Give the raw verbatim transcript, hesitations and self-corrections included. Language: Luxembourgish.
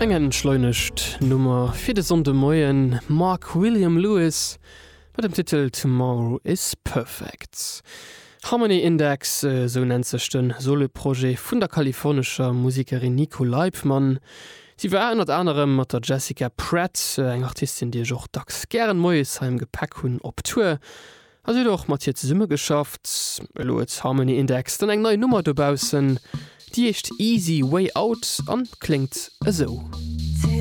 Eng entschleunegt Nummer fir de Sonndemoien, Mark William Lewis mat dem Titel Tomorrow is Perfect. Harmony Index, esou nennt sech de Soloprojet vun der kalifornescher Musekerin Nico Leibmann. Si war ënnert anerem mat der Jessica Pratt, eng Artistin, déi ech och dacks gären moies hei am Gepäck hunn, op Tour. A si huet och mat hir zesummegeschafft. Elo huet Harmony Index dann eng nei Nummer dobaussen, déi heescht Easy Way Out an kléngt esou.